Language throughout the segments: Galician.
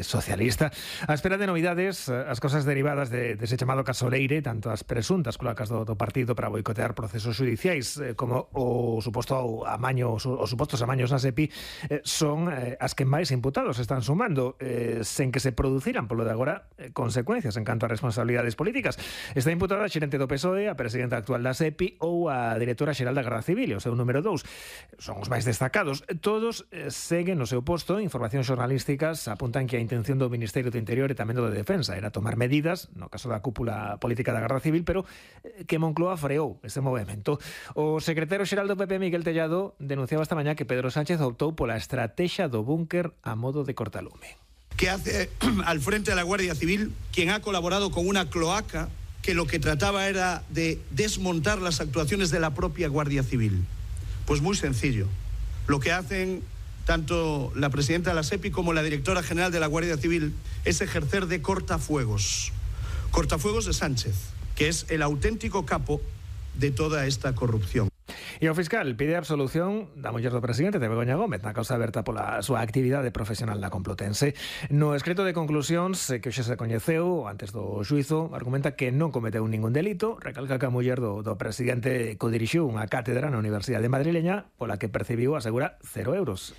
socialista. A espera de novidades, as cosas derivadas dese chamado caso Leire, tanto as presuntas cloacas do partido para boicotear procesos judiciais como os supostos amaños na SEPI son as que máis imputados están sumando, sen que se produciran, polo de agora, consecuencias en canto a responsabilidades políticas. Está imputada a xerente do PSOE, a presidenta actual da SEPI ou a directora xeral da Garda Civil, o seu número 2. Son os máis destacados. Todos seguen no seu posto. Informacións xornalísticas apuntan que a intención do Ministerio do Interior e tamén do de Defensa era tomar medidas, no caso da cúpula política da Garda Civil, pero que Moncloa freou ese movimento. O secretario xeral do PP, Miguel Tellado, denunciaba esta mañá que Pedro Sánchez optou pola estrategia do búnker a modo de cortalume. ¿Qué hace al frente de la Guardia Civil quien ha colaborado con una cloaca que lo que trataba era de desmontar las actuaciones de la propia Guardia Civil? Pues muy sencillo. Lo que hacen tanto la presidenta de la SEPI como la directora general de la Guardia Civil es ejercer de cortafuegos. Cortafuegos de Sánchez, que es el auténtico capo de toda esta corrupción. E o fiscal pide a absolución da muller do presidente, de Begoña Gómez, na causa aberta pola súa actividade profesional na Complutense. No escrito de conclusións que hoxe se coñeceu antes do xuízo, argumenta que non cometeu ningún delito, recalca que a muller do presidente codirixiu unha cátedra na Universidade Madrileña pola que percibiu, asegura, 0 euros.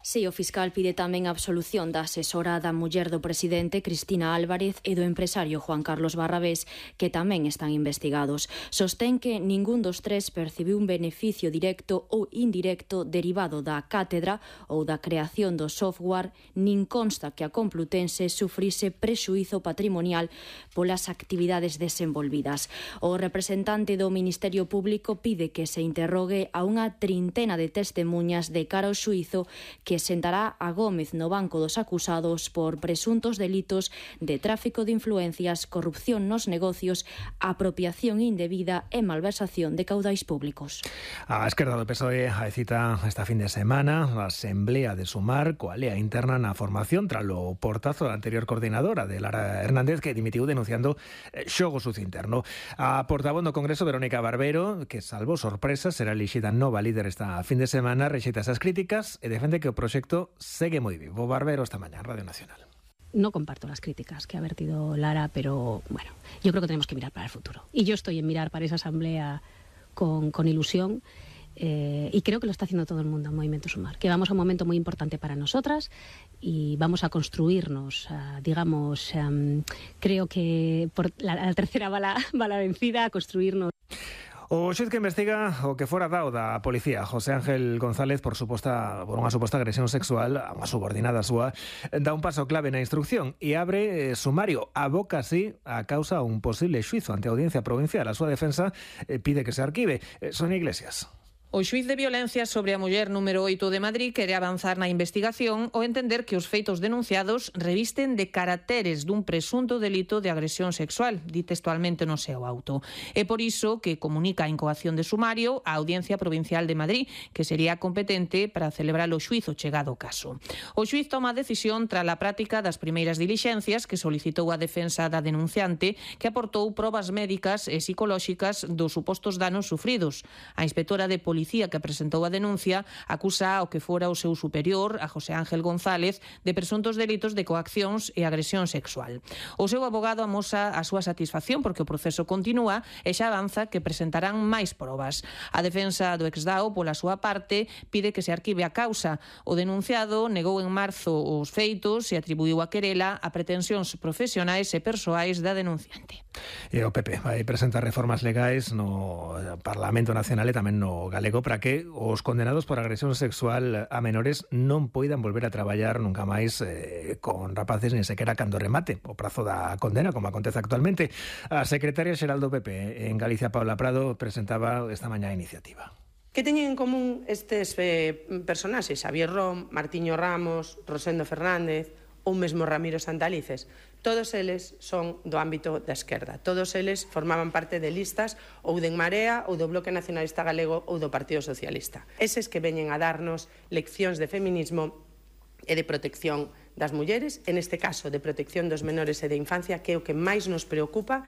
Si, o fiscal pide tamén a absolución da asesora da muller do presidente, Cristina Álvarez, e do empresario Juan Carlos Barrabés, que tamén están investigados. Sostén que ningún dos tres percibiu un beneficio directo ou indirecto derivado da cátedra ou da creación do software, nin consta que a Complutense sufrise prexuízo patrimonial polas actividades desenvolvidas. O representante do Ministerio Público pide que se interrogue a unha trintena de testemuñas de cara ao xuízo que sentará a Gómez no banco dos acusados por presuntos delitos de tráfico de influencias, corrupción nos negocios, apropiación indebida e malversación de caudais públicos. A esquerda do PSOE hai cita esta fin de semana a Asamblea de Sumar coa lea interna na formación tralo portazo da anterior coordinadora de Lara Hernández, que dimitiu denunciando xogo sucio interno. A portavoz do Congreso, Verónica Barbero, que salvo sorpresa, será elixida nova líder esta fin de semana, rexeita esas críticas e defende que o proxecto segue moi vivo. Barbero esta mañá en Radio Nacional. No comparto las críticas que ha vertido Lara, pero bueno, yo creo que tenemos que mirar para el futuro. Y yo estoy en mirar para esa asamblea con ilusión y creo que lo está haciendo todo el mundo en Movimiento Sumar, que vamos a un momento muy importante para nosotras y vamos a construirnos, digamos, creo que por la tercera bala vencida, a construirnos. O xuiz que investiga o que fora dado da policía, José Ángel González, por unha suposta agresión sexual a unha subordinada súa, dá un paso clave na instrucción e abre sumario. Aboca así a causa a un posible xuizo ante a Audiencia Provincial. A súa defensa pide que se arquive. Sonia Iglesias. O xuíz de violencia sobre a muller número 8 de Madrid quere avanzar na investigación ao entender que os feitos denunciados revisten de caracteres dun presunto delito de agresión sexual, di textualmente no seu auto. É por iso que comunica a incoación de sumario á Audiencia Provincial de Madrid, que sería competente para celebrar o xuízo chegado o caso. O xuíz toma a decisión tras a práctica das primeiras dilixencias que solicitou a defensa da denunciante, que aportou probas médicas e psicolóxicas dos supostos danos sufridos. A inspectora de policía que presentou a denuncia acusa ao que fora o seu superior, a José Ángel González, de presuntos delitos de coaccións e agresión sexual. O seu abogado amosa a súa satisfacción porque o proceso continúa e xa avanza que presentarán máis probas. A defensa do exdao, pola súa parte, pide que se arquive a causa. O denunciado negou en marzo os feitos e atribuiu a querela a pretensións profesionais e persoais da denunciante. E o PP vai presentar reformas legais no Parlamento Nacional e tamén no galego para que os condenados por agresión sexual a menores non poidan volver a traballar nunca máis con rapaces nin sequera cando remate o prazo da condena, como acontece actualmente. A secretaria xeral do PP en Galicia, Paula Prado, presentaba esta mañá a iniciativa. Que teñen en común estes personaxes? Xavier Rom, Martiño Ramos, Rosendo Fernández ou mesmo Ramiro Santalices. Todos eles son do ámbito da esquerda. Todos eles formaban parte de listas ou de En Marea ou do Bloque Nacionalista Galego ou do Partido Socialista. Eses que veñen a darnos leccións de feminismo e de protección das mulleres, en este caso de protección dos menores e de infancia, que é o que máis nos preocupa.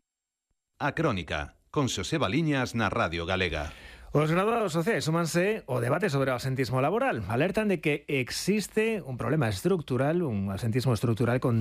A Crónica, con Xosé Baliñas na Radio Galega. Os graduados sociais súmanse ao debate sobre o absentismo laboral. Alertan de que existe un problema estructural, un absentismo estructural con